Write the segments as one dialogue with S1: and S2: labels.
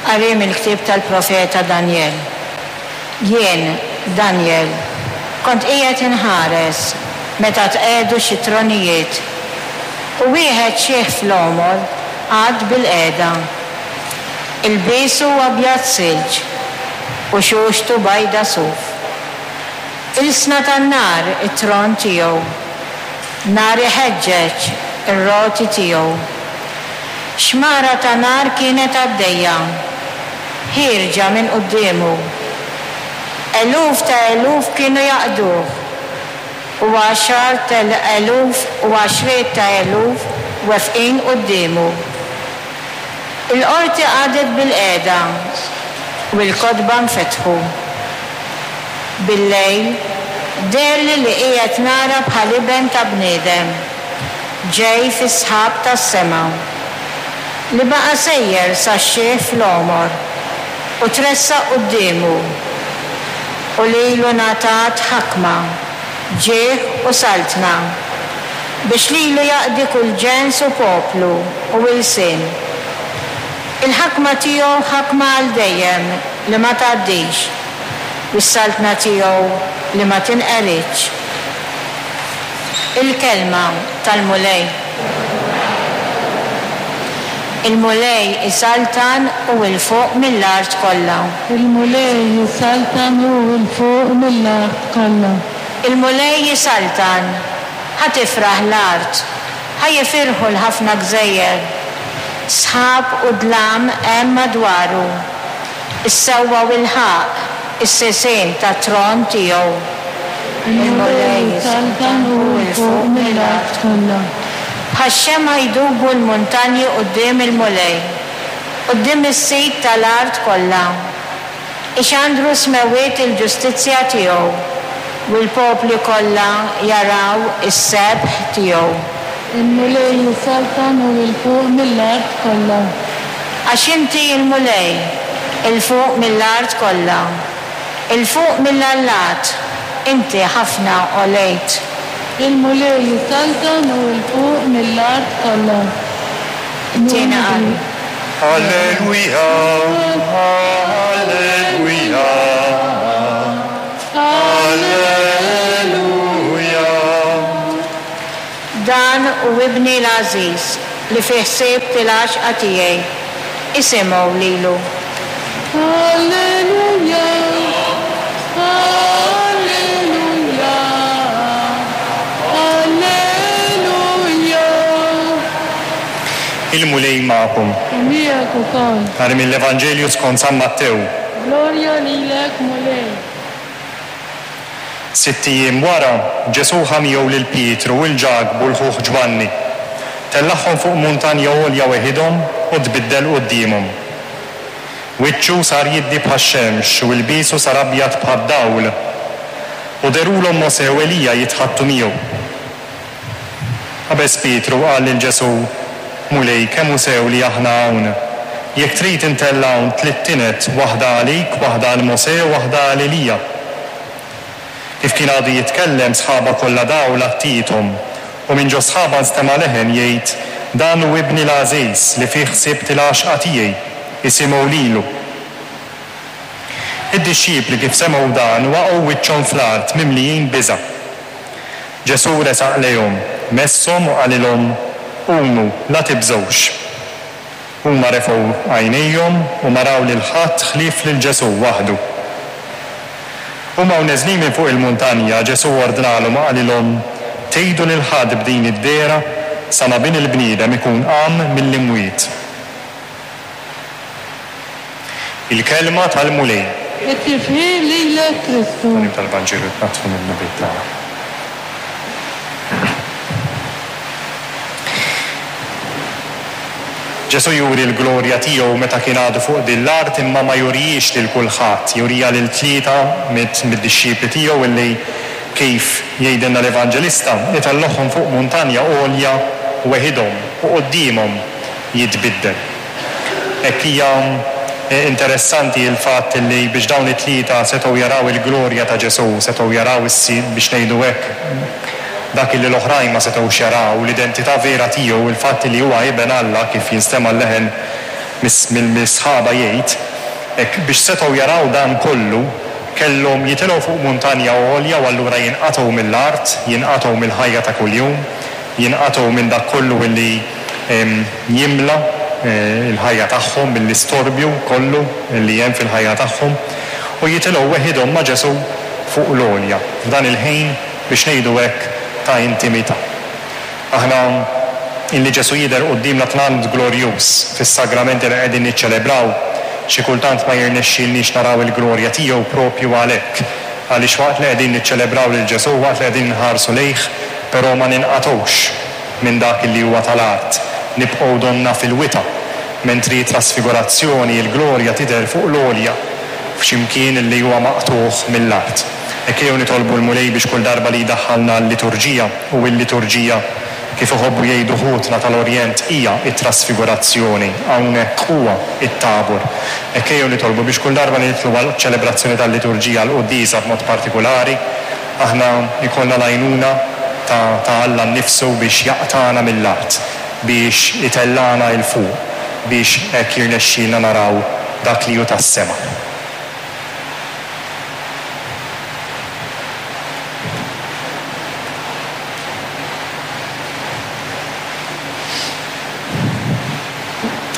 S1: Qari mill-ktieb tal-profeta Danjel. Jien, Danjel, kont qiegħed inħares meta tqiegħdu xi tronijiet, u wieħed xiħ fl-għomor qagħad bilqiegħda. Ilbiesu abjad silġ, u xuxtu bajda suf. Ilsna tan-nar it-tron tiegħu, nar iħeġġeġ ir-roti tiegħu. Xmara ta' nar kienet għaddejja, ħierġa minn quddiemu. Eluf ta' eluf kienu jaqduh, u għaxart eluf u għaxriet ta' eluf wefqin quddiemu. Il-qorti qagħdet bilqiegħda u l-kotba nfetħu. Billejl, deherli li qiegħed nara bħal iben ta' bniedem, ġej fis-sħab tas-sema, li baqa' sejjer sax-xiħ fl-għomor u tressaq quddiemu, u lilu ngħatat ħakma, ġieħ u saltna, biex lilu jaqdi kull ġens u poplu u ilsien. Il-ħakma tiegħu ħakma għal dejjem li ma tgħaddix, u s-saltna tiegħu li ma tinqeridx. Il-Kelma tal-Mulej. Il-Mulej isaltan hu 'l fuq mill-art kollha.
S2: Il-Mulej isaltan hu 'l fuq mill-art kollha.
S1: Il-Mulej isaltan, ħa tifraħ l-art, ħa jifirħu l-ħafna gżejjer. Sħab u dlam hemm madwaru, is-sewwa u l-ħaqq, is-sisien tat-tron tiegħu.
S2: Il-Mulej isaltan hu 'l fuq mill-art kollha.
S1: Bħax-xemgħa jdubu l-muntanji quddiem il-Mulej, quddiem is-Sid ta' l-art kollha. Ixandru s-smewwiet il-ġustizzja tiegħu, u l-popli kollha jaraw is-sebħ tiegħu.
S2: Il-Mulej isaltan hu 'l fuq mill-art kollha.
S1: Għax inti l-Mulej, 'il fuq mill-art kollha. 'Il fuq mill-allat, inti ħafna għolejt.
S2: Il-Mulej isaltan hu 'l fuq mill-art kollha.
S1: It-tieni qari.
S3: Alleluia, Alleluia, Alleluia.
S1: Dan hu Ibni l-għażiż, li fih sibt il-għaxqa tiegħi. Isimgħu lilu.
S2: Alleluia, Alleluia, Alleluia.
S3: Il-Mulej magħkom.
S2: U miegħek ukoll.
S3: Qari mill-Evanġelju skont San Mattew.
S2: Glorja lilek, Mulej.
S3: Sitt ijiem wara, Ġesù ħa miegħu lil Pietru u 'l Ġakbu 'l ħuh Ġwanni. Tellagħhom fuq muntanja għolja weħidhom u tbiddel quddiemhom. Wiċċu sar jiddi bħax-xemx u ilbiesu sar abjad bħad-dawl. U dherulhom Mosè u Elija jitħaddtu miegħu. Qabeż Pietru u qal lil Ġesù, Mulej, kemm hu sew li aħna hawn! Jekk trid intella' hawn tliet tined, waħda għalik, waħda għal Mosè u waħda għal Elija. Kif kien għadu jitkellem, sħaba kollha dawl għattiethom, u minn ġo sħaba nstema' leħen jgħid, Dan hu Ibni l-għażiż, li fih sibt il-għaxqa tiegħi, isimgħu lilu. Id-dixxipli kif semgħu dan waqgħu wiċċhom fl-art mimlijin biża'. Ġesù resaq lejhom, messhom u qalilhom, Qumu, la tibżgħux. Huma refgħu għajnejhom u ma raw lil ħadd ħlief lil Ġesù waħdu. Huma u neżlin minn fuq il-muntanja, Ġesù ordnalhom u qalilhom, Tgħidu lil ħadd b'din id-dehra sa ma Bin il-bniedem ikun qam mill-imwiet. Il-Kelma tal-Mulej.
S2: It-tifħir lilek Kristu.
S3: Tagħlim tal-Vanġelu tnaddfu mid-dnubiet tagħna. Ġesù juri l-glorja tiegħu meta kien għadu fuq din l-art imma ma jurihiex lil kulħadd, juriha lil tlieta mid-dixxipli tiegħu illi kif jgħidilna l-Evanġelista, itellgħuhom fuq muntanja għolja weħidhom u quddiemhom jitbiddel. Hekk hija interessanti l-fatt li biex dawn it-tlieta setgħu jaraw il-glorja ta' Ġesù, setgħu jaraw biex ngħidu hekk, dak li l-oħrajn ma setgħux jaraw, l-identità vera tiegħu, il-fatt li huwa Iben Alla kif jinstema' l-leħen. mill-sħaba jgħid hekk biex setgħu jaraw dan kollu kellhom jitilgħu fuq muntanja għolja u allura jinqatgħu mill-art, jinqatgħu mill-ħajja ta' kuljum, jinqatgħu minn dak kollu illi jimla l-ħajja tagħhom, mill-istorbju kollu li hemm fil-ħajja tagħhom, u jitilgħu weħidhom ma' Ġesù fuq l-għolja, f'dan il-ħin, biex ngħidu hekk, ta' intimità. Aħna illi Ġesù jidher quddiemna tant glorjuż fis-sagramenti li qegħdin niċċelebraw, xi kultant ma jirnexxilniex naraw il-glorja tiegħu proprju għalhekk, għaliex waqt li qegħdin niċċelebraw lil Ġesù, waqt li qegħdin inħarsu lejh, però ma ninqatgħux minn dak illi huwa tal-art, nibqgħu donna fil-wita, mentri t-trasfigurazzjoni, il-glorja tidher fuq l-għolja, f'xi mkien illi huwa maqtugħ mill-art. Hekk ejjew nitolbu l-Mulej biex kull darba li jdaħħalna għal-liturġija, u l-liturġija, kif iħobbu jgħidu ħutna tal-Orjent, hija t-trasfigurazzjoni, hawnhekk huwa t-Tabor. Hekk ejjew nitolbu biex kull darba li nidħlu għall-ċelebrazzjoni tal-liturġija, għall-quddiesa b'mod partikulari, aħna jkollna l-għajnuna ta' ta' Alla nnifsu biex jaqtagħna mill-art, biex itellagħna 'l fuq, biex hekk jirnexxielna naraw dak li hu tas-sema.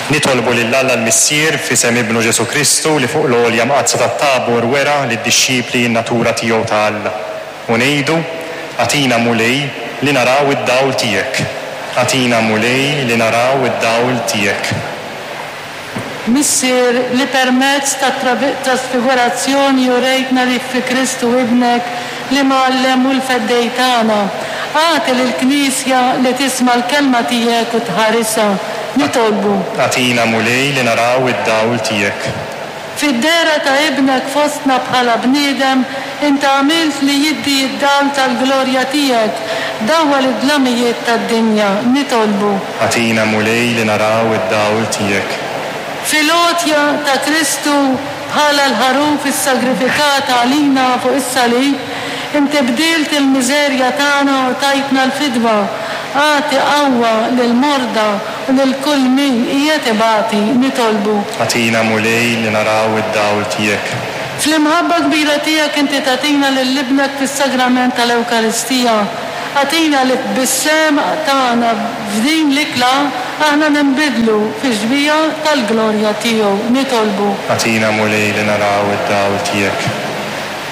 S3: Nitolbu lil Alla l-Missier, f'isem Ibnu Ġesù Kristu, li fuq l-għolja mqaddsa tat-Tabor wera lid-dixxipli n-natura tiegħu ta' Alla. U ngħidu, Agħtina, Mulej, li naraw id-dawl tiegħek. Agħtina, Mulej, li naraw id-dawl tiegħek.
S2: Missier, li permezz tat-trasfigurazzjoni urejtna li fi Kristu Ibnek, l-Imgħallem u l-Feddej tagħna, agħti lill-Knisja li tisma' l-kelma tiegħek u tħarisha. Nitolbu.
S3: Agħtina, Mulej, li naraw id-dawl tiegħek.
S2: Fid-dehra ta' Ibnek fostna bħala bniedem, int għamilt li jiddi d-dawl tal-glorja tiegħek, dawwal id-dlamijiet tad-dinja. Nitolbu.
S3: Agħtina, Mulej, li naraw id-dawl tiegħek.
S2: Fil-għotja ta' Kristu bħala l-Ħaruf issagrifikat għalina fuq is-salib, inti bdilt il-miżerja tagħna u tajtna l-fidwa. Agħti qawwa lill-morda U lil kull min qiegħed ibati, nitolbu.
S3: Agħtina, Mulej, li naraw id-dawl tiegħek.
S2: Fl-imħabba kbira tiegħek inti tagħtina lil Ibnek fis-Sagrament tal-Ewkaristija. Agħtina li bis-sehem tagħna f'din l-ikla aħna ninbidlu fix-xbieha tal-glorja tiegħu. Nitolbu.
S3: Agħtina, Mulej, li naraw id-dawl tiegħek.